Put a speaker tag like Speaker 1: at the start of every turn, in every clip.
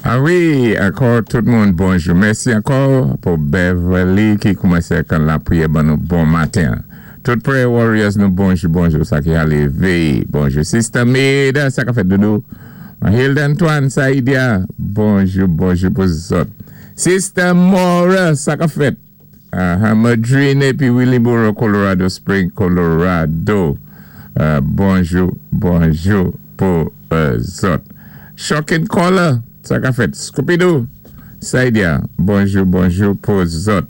Speaker 1: A wi, ankò tout moun bonjou. Mèsi ankò pou Beverly ki koumansé kan lapriyè ban nou bon maten. Tout prayer warriors nou bonjou bonjou, sa ki ale véyé. Bonjou Sister Maida, sa ka fèt doudou. Hilda Antoine, Saïdia, bonjou bonjou pou zòt. Sister Mora, sa ka fèt. Madrine épi Willingboro, Colorado Spring, Colorado. Bonjou, bonjou pou zòt. Shocking Caller, sa ka fèt. Scooby-Doo, Saïdia, bonjou, bonjou pou zòt.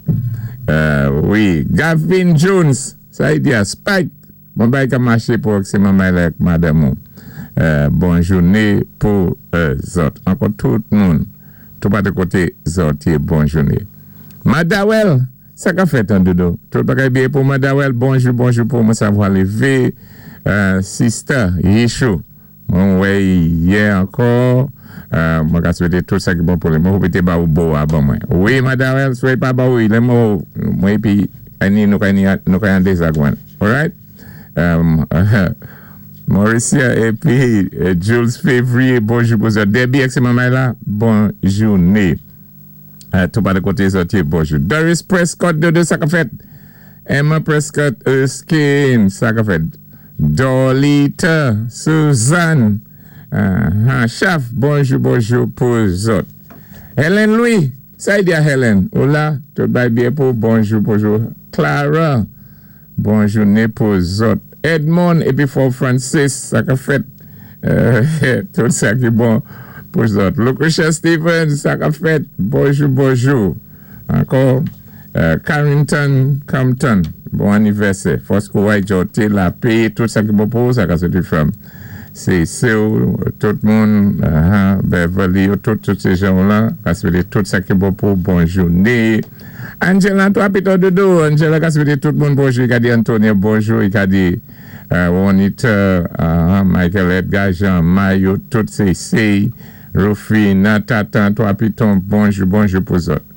Speaker 1: Wi, Gavin Jones, Saïdia, Spike, bon bay ka maché pou se manmay la ak madanm ou. Bon jouné pou zòt. Ankò tout moun, tout patou koté zòt yé, bon jouné. Madawel, sa ka fèt an doudou? Tout bagay byen pou Madawel, bonjou, bonjou pou mwen savwa lévé. Sister Yishou, mwen wè yè ankò, mwen ka swété tout sa ki bon pou li. Mwen hope té ba ou bo a ban mwen. Wi Madawel, swé pa ba ou, lè mwen mwen épi ani nou ka nou ka an dézagwan. Alright? Mauricia épi Jules Février, bonjou pou zòt. Debbie ak sé manmay la, bon jouné. Tout pa de koté zòt yé, bonjou. Doris Prescott, dodo sa ka fèt? Emma Prescott Erskine, sa ka fèt? Dorlita Suzanne, Chaf, bonjou bonjou pou zòt. Helen Louis, sa y di a Helen? Ou la? Tout bay byen pou bonjou bonjou. Clara, Bon jouné pou zòt. Edmond épi Fort Francis, sa ka fèt? Tout sa ki bon pou zòt. Lucretia Stevens, sa ka fèt? Bonjou bonjou. Ankò Carrington Compton, bon anivèsè. Fòs kouray djòte lapé, tout sa ki bon pou ou, sa ka soti from sé ou, tout moun, Beverly yo, tout tout sé jan ou lan, ka swété tout sa ki bon pou ou, bon jouné. Angela 3 pito doudou. Angela ka swété tout moun bonjou. I ka di Antonio bonjou, i ka di Juanita, Michael Edgar, Jean Mayo, tout sé Sey, Rufina, Tatan, 3 piton, bonjou bonjou pou zòt.